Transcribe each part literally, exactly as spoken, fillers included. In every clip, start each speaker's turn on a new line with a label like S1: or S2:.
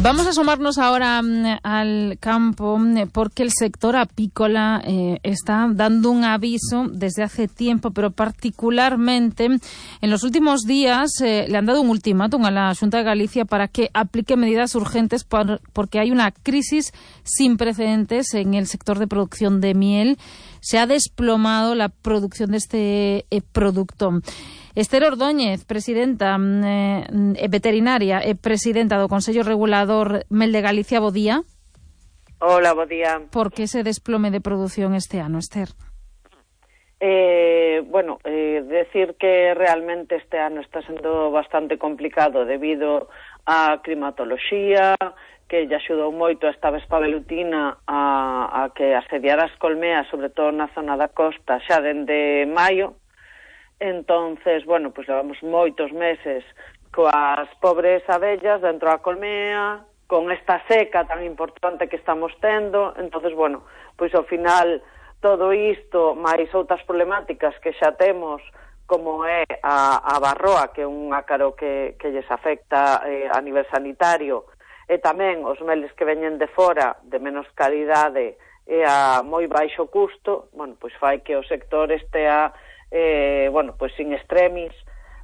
S1: Vamos a asomarnos ahora um, al campo porque el sector apícola eh, está dando un aviso desde hace tiempo, pero particularmente en los últimos días eh, le han dado un ultimátum a la Xunta de Galicia para que aplique medidas urgentes por, porque hay una crisis sin precedentes en el sector de producción de miel. Se ha desplomado la producción de este eh, producto. Esther Ordóñez, presidenta eh, veterinaria e eh, presidenta do Consello Regulador Mel de Galicia, bo día.
S2: Hola, bo día.
S1: Por que ese desplome de produción este ano, Esther?
S2: Eh, bueno, eh, decir que realmente este ano está sendo bastante complicado debido á climatoloxía, que lle axudou moito esta vespa velutina a, a que asediara as colmeas, sobre todo na zona da costa, xa dende maio. Entonces, bueno, pues levamos moitos meses coas pobres abellas dentro da colmea, con esta seca tan importante que estamos tendo. Entonces, bueno, pois ao final todo isto, máis outras problemáticas que xa temos, como é a, a barroa, que é un ácaro que, que lles afecta eh, a nivel sanitario, e tamén os meles que veñen de fora, de menos calidade e a moi baixo custo, bueno, pois fai que o sector estea Eh, bueno, pois sin extremis,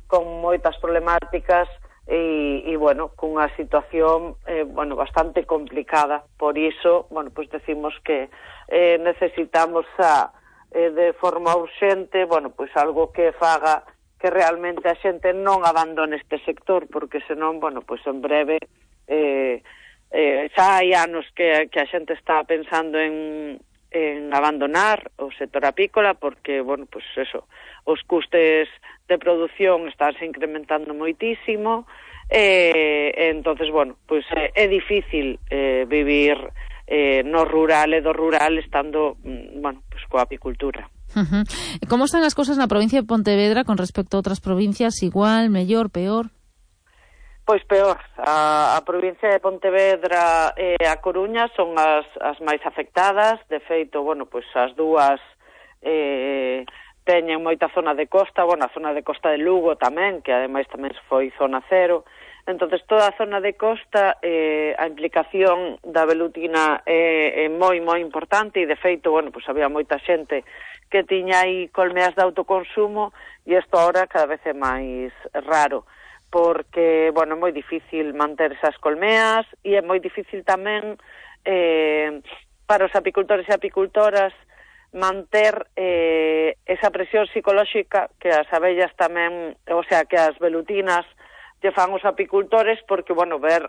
S2: con moitas problemáticas e, e bueno, cunha situación eh, bueno, bastante complicada. Por iso, bueno, pois decimos que eh, necesitamos a, eh, de forma urxente, bueno, pois algo que faga que realmente a xente non abandone este sector, porque senón, bueno, pois en breve eh, eh, xa hai anos que, que a xente está pensando en en abandonar o sector apícola porque, bueno, pues eso, os custes de produción estánse incrementando moitísimo e, eh, entonces, bueno, pues é, é difícil eh, vivir eh, no rural e do rural estando, bueno, pues coa apicultura.
S1: Uh-huh. Como están as cousas na provincia de Pontevedra con respecto a outras provincias? Igual, mellor, peor?
S2: Pois peor. A, a provincia de Pontevedra e a Coruña son as, as máis afectadas. De feito, bueno, pois as dúas eh, teñen moita zona de costa, bueno, a zona de costa de Lugo tamén, que ademais tamén foi zona cero. Entonces, toda a zona de costa, eh, a implicación da velutina é, é moi, moi importante e, de feito, bueno, pois había moita xente que tiña aí colmeas de autoconsumo e isto ahora cada vez é máis raro, porque, bueno, é moi difícil manter esas colmeas e é moi difícil tamén eh, para os apicultores e apicultoras manter eh, esa presión psicolóxica que as abellas tamén, o sea, que as velutinas lle fan os apicultores, porque, bueno, ver